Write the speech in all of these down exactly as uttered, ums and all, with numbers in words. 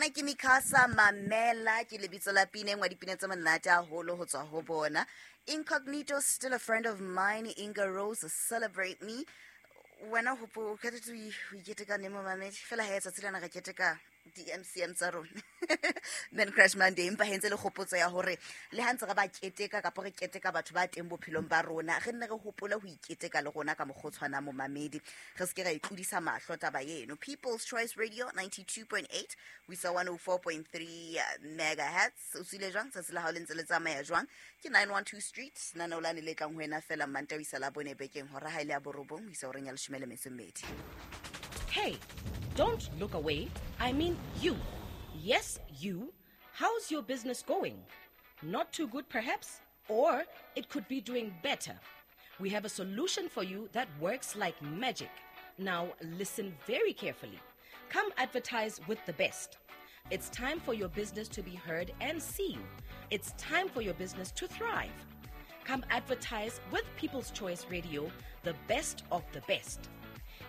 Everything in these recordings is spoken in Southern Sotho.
Bana ke Mikasa Mamela ke lebitso la pina e nngwe ya dipina tse monate haholo ho tswa ho bona. Incognito, Still a Friend of Mine, Inga Rose, Celebrate Me. Wena hopo o kgethetse ho iketeka neng momamedi? Fela ha tsatsi lena re keteka di-M C M tsa rona. Men Crush Monday, empa he ntse le kgopotso ya hore le ha ntse re ba keteka kapa re keteka batho ba teng bophelong ba rona, re nne re hopole ho iketeka le rona ka mokgwa o tshwanang momamedi. Re se ke ra itlodisa mahlo taba eno. People's Choice Radio ninety-two point eight, ho isa one oh four point three megahertz. O tswile jwang? Tsatsi la hao le ntse le tsamaya jwang? Ke nine one two Street, lenaneo lane le tlang ho wena fela Mantaha ho isa Labone bekeng, hora ha e le ya borobong ho isa horeng ya leshome le metso e mmedi. Hey, don't look away. I mean you. Yes, you. How's your business going? Not too good, perhaps? Or it could be doing better. We have a solution for you that works like magic. Now, listen very carefully. Come advertise with the best. It's time for your business to be heard and seen. It's time for your business to thrive. Come advertise with People's Choice Radio, the best of the best.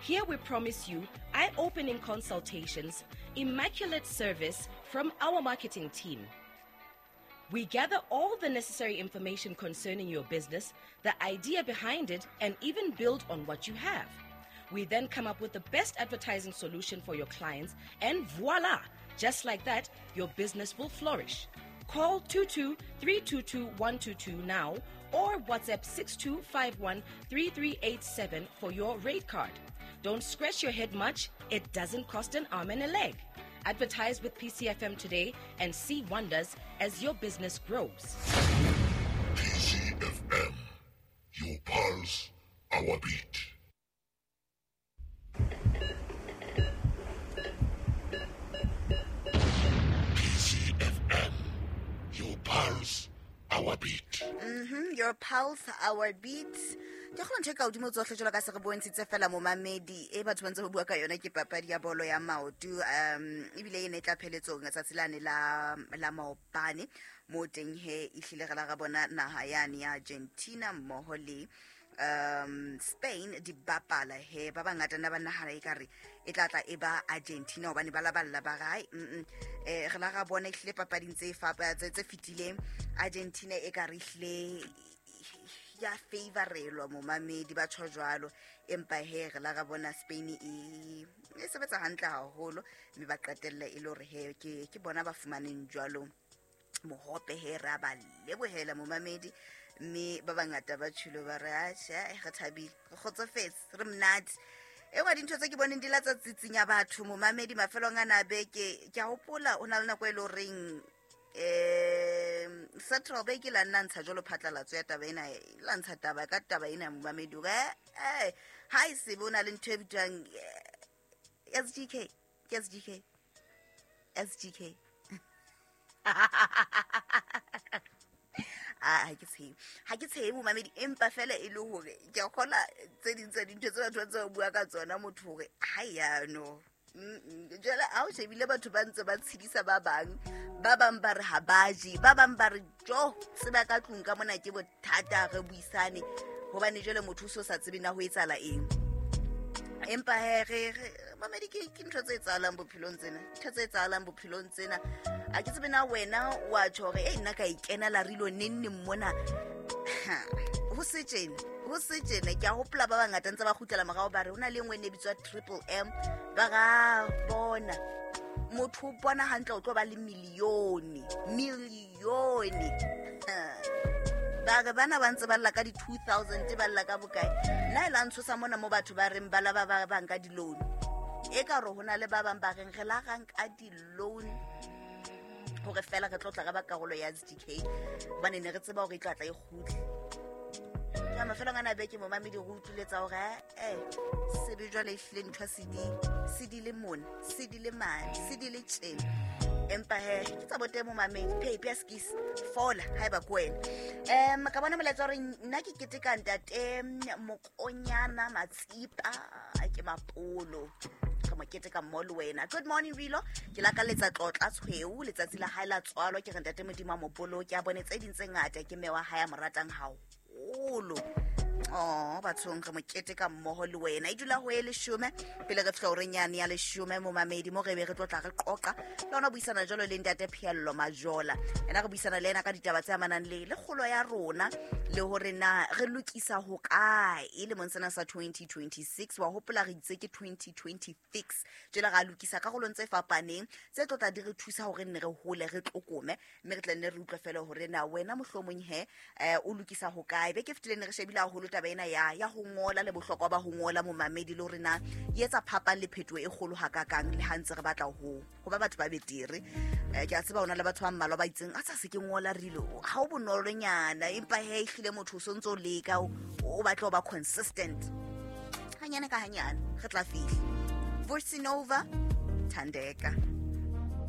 Here we promise you eye-opening consultations, immaculate service from our marketing team. We gather all the necessary information concerning your business, the idea behind it, and even build on what you have. We then come up with the best advertising solution for your clients, and voila! Just like that, your business will flourish. Call two two three two two one two two now or WhatsApp six two five one three three eight seven for your rate card. Don't scratch your head much. It doesn't cost an arm and a leg. Advertise with P C F M today and see wonders as your business grows. P C F M, your pulse, our beat. P C F M, your pulse, our beat. Mm-hmm, your pulse, our beat. Ke kgona ntho e ka hodimo tsohle jwalo ka se re bontshitse fela momamedi e batho ba ntse ba bua ka yona ke papadi ya bolo ya maoto, um ebile e ne e tla pheletsong tsatsi lane la la maobane mo teng he ehlile re la ra bona naha yane ya Argentina mmoho le um Spain di bapala he ba bangata na ba nahana ekare e tla tla e ba Argentina hobane ba laballa ba re mm eh re la ra bona ehlile papading tse fapa tse tse fetileng Argentina e ka re ehlile ya favorelwa momamedi ba tjho jwalo, empa he re la ra bona Spain e e sebetsa hantle haholo mme ba qetelle e le hore he ke ke bona ba fumaneng jwalo mohope he ra ba lebohela momamedi mme ba bangata ba tjhilo ba re atjhe re thabile re kgotsofetse re monate. E nngwe dintho tse ke boneng di latsa tsitsinya batho momamedi mafelong ana beke ke a hopola o na le nako e le horeng eh Central Bank e la nna ntsha jwalo phatlalatso ya taba ena, e la ntsha taba ka taba ena ya momamedi hore eh ha e se bo na le ntho e bitswang S G K, ke S G K, S G K. Ah, ha ke tshehe, ha ke tshehe momamedi, empa fela e le hore ke a kgola tse ding tsa dintho tse batho ba ntse ba bua ka tsona motho hore ha ya no. Jwale ha o shebile batho ba ntse ba tshedisa ba bang, ba bang ba re ha ba je, ba bang ba re jo tseba ka tlung ka mona ke bothata re buisane hobane jwale motho o so sa tsebe na ho etsahala eng. Empa he re mamedi ke ke ntho tse etsahalang bophelong tsena, ntho tse etsahalang bophelong tsena. A ke tsebe na wena wa tjho hore e nna ka ikenela re ilo neng neng mona. Ho se tjena, ho se tjena ke a hopola ba bangata ntse ba kgutlela morao ba re ho na le e nngwe e ne e bitswa Triple M, ba ra bona motho o bona hantle o tlo ba le milione, milione. Ba re bana ba ntse ba lla ka di two thousand ba lla ka bokae. Nna e la ntshosa mona mo batho ba reng ba la ba ba banka di-loan. E ka re ho na le ba bang ba reng re la ra nka di-loan hore fela re tlo tla re ba karolo ya S G K hobane ne re tseba hore e tla tla e kgutle. Ka mafelong ana beke momamedi re utlwile tsa hore eh sebe jwale ehlile ntho se di se di le mona, se di le mane, se di le tjena. Empa he ke tsa bote momamedi phepi ya skis fola haeba ke wena. Em ka bona molaetsa hore nna ke keteka ntate Mokonyana Matsipa ke Mapolo re mo keteka mmoho le wena. Good morning Rilo, ke lakaletsa tlotla tshweu letsatsi la hae la tswalo ke re ntate Modimo a mo boloke a bone tse ding tse ngata ke mme wa hae a mo ratang haholo. Oh, bathong re mokete ka mmoho le wena. E dula ho e leshome pele re fihla horeng yane ya leshome momamedi mo re be re tlo tla re qoqa le hona buisana jwalo le ntate Pheello Majola. Ena re buisana le ena ka ditaba tse amanang le le kgolo ya rona le hore na re lokisa ho kae e lemong sena sa twenty twenty-six. Wa hopola re itse ke twenty twenty-six jwale ra lokisa karolong tse fapaneng tse tlo tla di re thusa hore nne re hole re tlokome mme re tla nne re utlwe fela hore na wena mohlomong he eh, o lokisa ho kae. Beke fetileng ne re shebile haholo taba ena ya ya ho ngola le bohlokwa ba ho ngola momamedi le hore na e etsa phapang le phetoho e kgolo hakakang le ha ntse re batla ho ho ba batho ba betere. Eh, ke a tseba hona le batho ba mmalwa ba itseng a tsa se ke ngola rilo ha o bonolonyana empa he ehlile motho o sontso o leka o o batla ho ba consistent hanyane ka hanyane re tla fihla. Voice Nova Thandeka.